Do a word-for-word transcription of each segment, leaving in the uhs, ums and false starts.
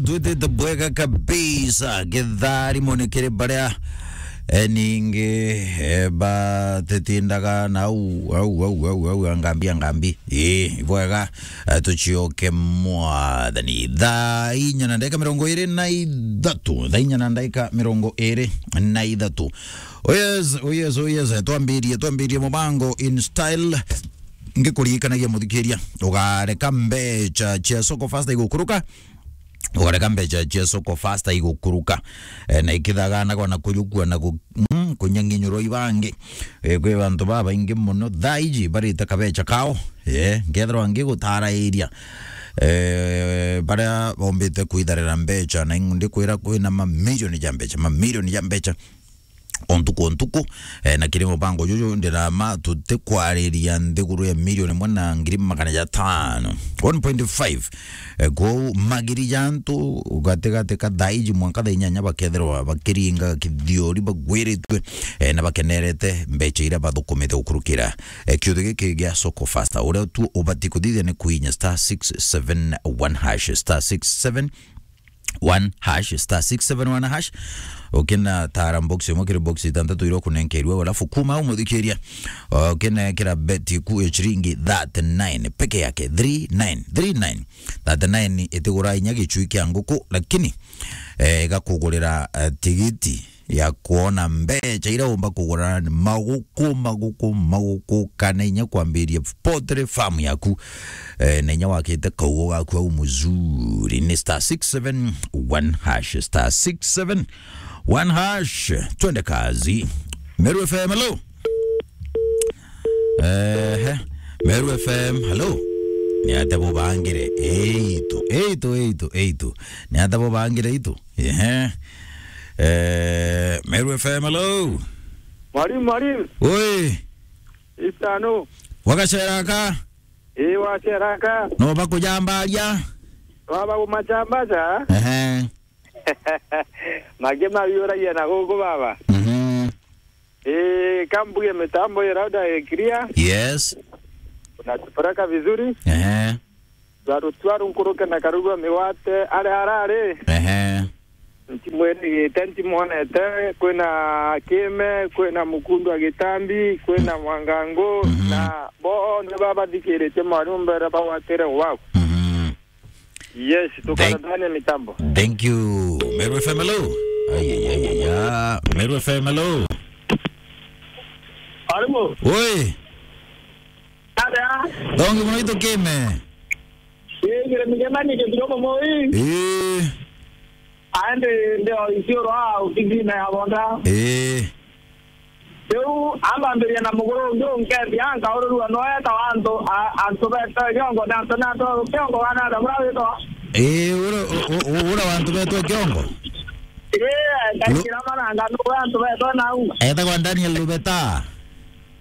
twitite bwega kabisa. Githari mone kiri baria, eh, ningi, eh, batitindaga na au, au, au, au, au, angambi, angambi. Ii, ibwega, eh, tucioke mwathani. Thaa inya na ndaika mirongo iri na ithatu. Thaa inya na ndaika mirongo iri na ithatu. Oh yes, oh yes, oh yes. Twambirie, twambirie mubango in style. Ngikuririkanagia muthikiria, ugareka mbecha cia Soko Fasta igukuruka, ugareka mbecha cia Soko Fasta igukuruka. Eh, na ikithaganagwa na kuyukua na ku-, mm, kunyanginyurwa ibangi. Eh, kwi bantu babaingi muno thaa iji barite kabecha kao. Eh, nkethirwa ngigutarairia, eh, baria bombite kwitharira mbecha, na ndikwira kwina mamirioni ja mbecha, mamirioni ja mbecha o ntuku o ntuku. Eh, na kiri mubango juju ndirama tutikwariria nthiguru ya milioni imwe na ngiri magana jatano, one point five. Eh, kwou magiri ja antu gatigati ka thaa iji mwanka thaa inyanya bakethirwa bakiringa kithiori bagwiritue, eh, na bakenerete mbecha iria bathukumite gukurukira, eh, kiuthi giki gia Soko Fasta. Uria tu ubati kuthithia ni kuinya star six seven one hash, star six seven one hash, star six seven one hash. Ukina tara box imwe kiri box itantatu iria ukunenkerwe, alafu kuma au muthikiria, ukina kira beti ku ya ciringi thirty-nine peke yake, three nine, three nine. Thirty-nine itigura inya gicui kia nguku, lakini, eh, igakugurira, eh, tigiti ya kuona mbecha iria umba kugura maguku, maguku, maguku, kana inya kwambiria poultry farm yaku, eh, na inya wakite kaugo gaku au muzuri. Ni star six seven one hash, star six seven one hash. Twende kazi. Meru F M, hello. Ehe. Meru F M, hello. Ni ata bubangire? Eitu, eitu, eitu, eitu. Ni ata bubangire itu? Ehe. Eh, Meru F M, hello. Mwalimu, mwalimu. Oi. Itano. Wagacera ka? Ii, wacera ka? No bakujambaria? Baba kumacambaca? Ehe. Mangĩ mabiũragia na gũkũ baba. Mhm. Ii, kambuge mitambo ira uda clear. Yes. Unatupeleka vizuri. Ehe. Twaru, twaru nkuruke na karugwa migwate aria arari. Ehe. Ntimwirigite, ntimonete, kwina Kime, kwina Mukundu wa Gitambi, kwina Mwangangu, mhm, na bonthe babathikiritie mwarimu mbere bagwatire gwaku. Mhm. Yes, thank, tukaratania mitambo. Thank you. Meru F M, hello. Ai, ai, ai, ai, ai. Meru F M, hello. Arimu. Oi. Ada. Thongi mono itu Kime. Ii, ngire migema ni githiro momo ii. Ii. Aende ndio isioro au kigina ya bonda. Ii. Riu ambambiria na muguru ungi unkethia, nkaururua no eta wa antu, a-, antu betwe kiongo, na antu, na antu kiongo, kana ata bura witwa? Ii, ura, u-, u-, ura wa antu betwe kiongo? Ii, ngaikira maranga, nu wa antu betwe nau? Etagwa Daniel Lubeta.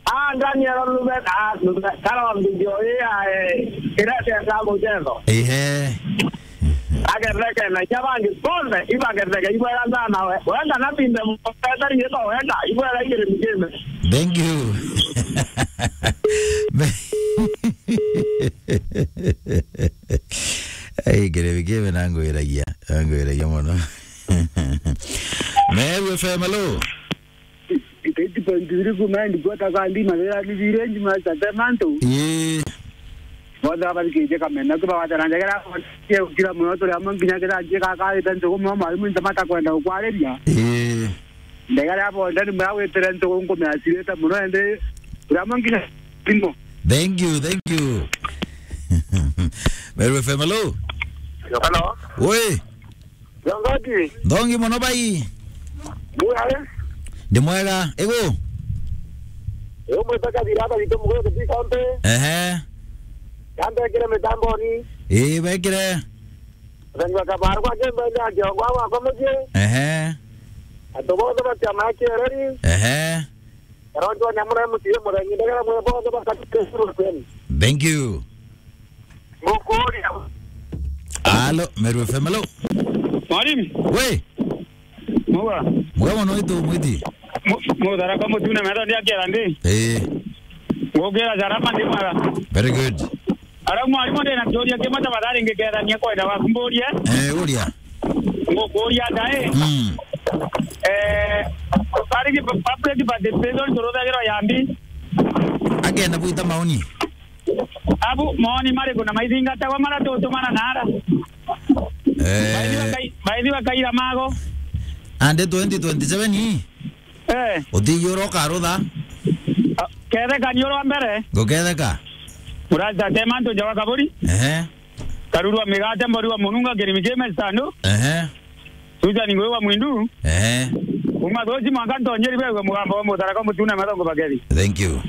Ah, Daniel Lubeta, ah, Lubeta, kara wa video ii ya, eh, irete ya mujengo. Ehe. Agetheke na inya bangi bonthe, ibagetheke, ibwega sana we. Wenda na binde mubeta riitwa wenda, ibwega igiri migime. Thank you. Ai, igiri migime nangwiragia, nangwiragia mono. Meru F M, hello. Eight point three ku nine kwata kandi mathira ni village master temanto. Ii. Bonthe babathikiritie Kameme, kibagwatana njegera, cie gukira muno, turi amwe nginya kira njie gakarite ntugu muno, mwarimu ntamata kwenda gukwariria. Ii. Njegera bonthe ni mura gwitire ntugu nkumia cirite muno, indi turi amwe nginya thimo. Thank you, thank you. Meru F M, hello. Hello. Oi. Jongoji. Thongi mono bai. Mwega. Ndi mwega, igu? Yo mwita kathira aba gitu mugo kuti kampe. Ehe. Kampe kire mitamboni. Ii, bekire. Thangwa kabaru kwa kembe ya jongo wa kwa muji. Ehe. Atobodo batia makereri. Ehe. Karonjo nyamura mutie murenyi ndagara mwe bodo bakati. Thank you. Mukuria. Alo, Meru F M, alo. Mwalimu. We. Muga. Muga mono itu mwiti. Mu-, mutharaka mutune metho ndia kera ndi. Eh. Ngukira jarama ndi mara. Very good. Ara mwalimu ndi na kiuria kimwe tafadhali ngikethania kwenda waku mburie. Eh, uria. Kuria ndae. Mm. Eh, bari ki public participation turuthagirwa yambi. Agenda gwita maoni. Abu maoni mariku na maithingatagwa mara tutumana nara? Eh. Baithi bakai-, baithi bakaira mago. Ande twenty twenty-seven ii? Eh. Utijura ukarutha? Ah, ketheka ni urwa mbere. Nguketheka. Murata tema ntu njawa kaburi. Ehe. Karurwa migate mbori wa mununga kirimi kime standu. Ehe. Tuja ni ngwe wa mwindu. Ehe. Uma thosi mwanka ntonjeri begwe mugambo wa mutharaka mutuna mathongo bageri. Thank you.